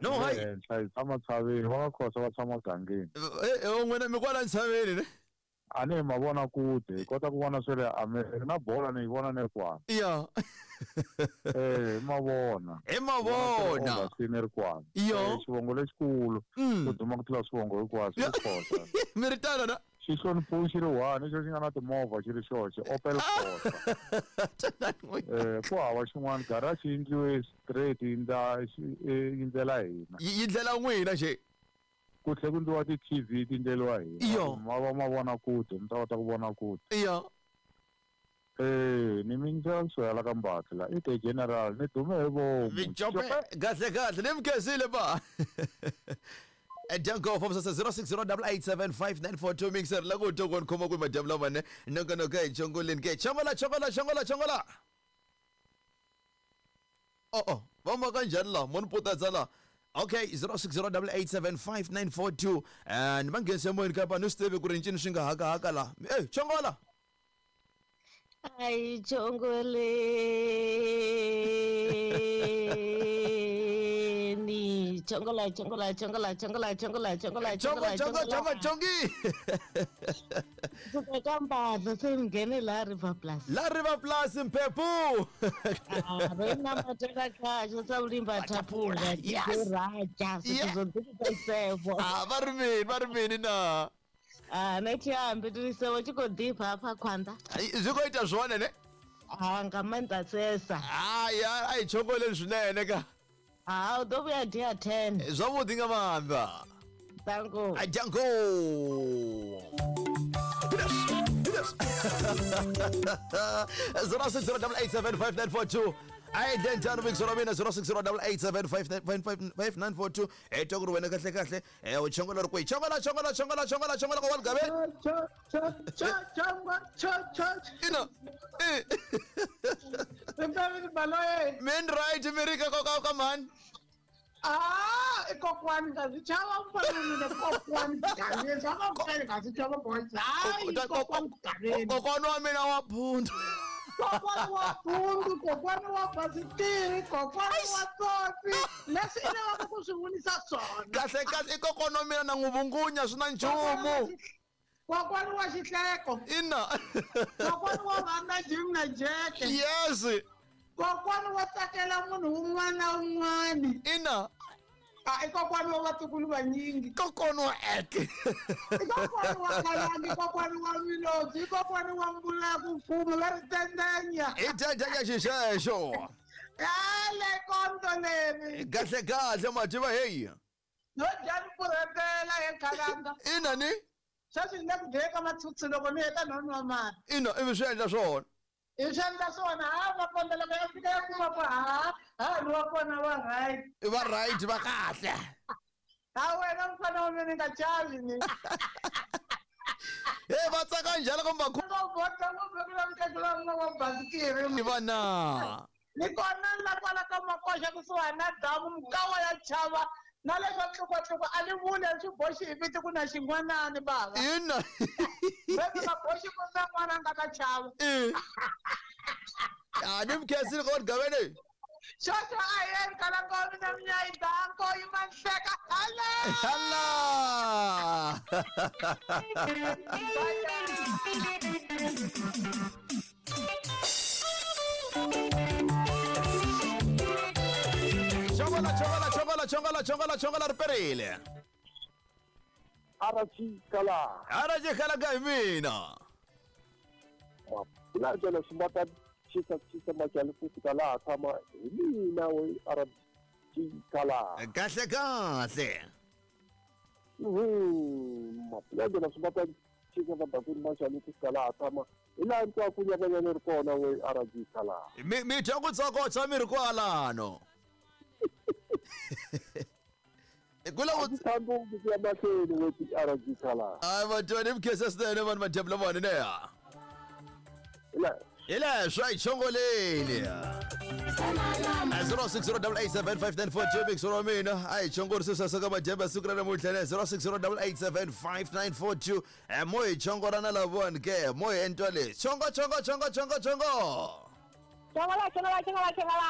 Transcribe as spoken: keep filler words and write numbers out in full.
No hayi. Henhla hi tshama tshaveni va ka Khosa va tshama gangeni. Eh eh n'wina mi kwala ntshaveni ne? A ni hi mavona kude hi kota ku vona swa le America na bola ni yi vona ni ri kwala. Ya. Eh hi mavona. Hi mavona. Ni ri kwala. Yo. Xivongo lexikulu ku duma ku tlula swivongo hinkwaswo i Khosa. Mi ri tano na? Xi hloniphiwe xi ri one xo xi nga na timovha xi ri xoxe Opel Corsa. Eh ku hava xin'wana garage yi endliwe straight yi ndla yi ndlela hina. Yi ndlela n'wina xe. Ku tlhe ku ndliwa ti-T V ti ndleriwa hina. Ma va ma vona kude mi ta kota ku vona kude. Iyo. Eh ni mi ndlela kusuka ka Mbatla la i the general ni dume hi vomu. Mijope kahle kahle ni mkhezile ba. Danko from zero six zero eight eight seven five nine four two mixer la ku to kon khoma ku madam la mane nonka nonka chongoleni ke chongola chongola chongola chongola. Oh oh va ma kanjhani la mo ni putadza la. Okay, zero six zero eight eight seven five nine four two and mangense moyeni ka pa no swi tivi ku ri ncini swi nga haka haka la. Eh chongola. Ai chongoleni chongola chongola chongola chongola chongola chongola chongola chongola chongola chongi. Kutoka Mbatha se ngene la River Plus. La River Plus Mphephu. Ah, rena mateka kahle sa ulimba thapula. Yes. Raja sizodipha. Ah, va ri mini va ri mini na. Ah, nethi tisewo tshi khou ḓifha hafha khwanḓa. Zwi khou ita zwone ne? Ah, nga maanḓa sesa. Hayi, a i chongoleni swinene ka. Ah, u ḓo vhuya dia ten. Zwavhuḓi nga maanḓa. Danko. Danko. zero six zero eight eight seven five nine four two. I then tano mix wa mina zero six zero eight eight seven five five nine four two. Eh to ku wena kahle kahle eh u chongola ri kwihi chongola chongola chongola chongola chongola ka wa gabe cha cha cha chongo cha cha ina eh Rimbe baloye men right America ka ka ka man. Ah, kokwani nga zwi chava mfana mina kokwani gaveni swa ka nga zwi chava boys. Hayi kokwani gaveni. Kokwani wa mina wa phundu. Kokwani wa phundu, kokwani wa basikiri, kokwani wa tsotsi. Leswi i lavaka ku swi vunisa swona. Kahle kahle i kokwani wa mina na n'wi vungunya swi na nchumu. Kokwani wa xihleko. Ina. Kokwani wa vana Jim na Jack. Yes. Kokwani wa tsakela munhu wun'wana na wun'wana. Ina. Ah, i kokwani wa vatukulu vanyingi. Kokwani wa eke. I kokwani wa khalangi, kokwani wa milodzi, i kokwani wa mbula ya ku fuma va ri tendenya. I tendenya xixexo. Yale konto leri. Kahle kahle mativa heyi. No dya ni purhetela he khalanga. Ina ni? Sweswi ni le ku dyeni ka mathuthu loko ni heta no nwa mati. Ina ivi swi endla swona. I swi endla swona ha maponda loko ya fika ya kuma ku ha ha ri wa kona va right. Va right va kahle. Ha wena mfana wa mina ni nga chavi ni. Hey va tsaka njhani kumbe ku bota ngopfu ku la mkhekula wa basikiri. Ni vana. Ni kona la kwala ka makoxa kusuhani na damu mukawa ya chava. Na leswa tlukwatlukwa a ni vuli a swi boxi hi vito ku na xin'wanani bava. Ina. Leswi nga boxi ku na n'wana a nga ta chava. Eh. Ah, ni mkhensile ko gavene. Xoxo a yeni kala ngo mina mnyayi danko yi manhleka hala. Hala. Chongola chongola chongola chongola chongola chongola ri perile. Arachi kala. Arachi kala ka mina. La jela sumata chisa chisa machali futhi kala tshama hi mina we arachi kala. Kahle kahle. Mhm. La jela sumata chisa machali machali futhi kala tshama hi laha ntwa ku nyakanyana ri kona we arachi kala. Mi mi dya ku tsokotsa mi ri kwalano. Kula ku thambu ku ya mahlweni we ti arachi kala. Ai va ni mkhesa swinene vanhu madyambu lamawani ne ya. Ila Ila swi chongoleni. zero six zero eight eight seven five nine four two mix wa mina. Ai chongori swi saka madyambu siku ra namuntlha ne zero six zero eight eight seven five nine four two. Eh mo hi chongora na lavona ke mo hi entwa le. Chongo chongo chongo chongo chongo. Chongola chongola chongola chongola.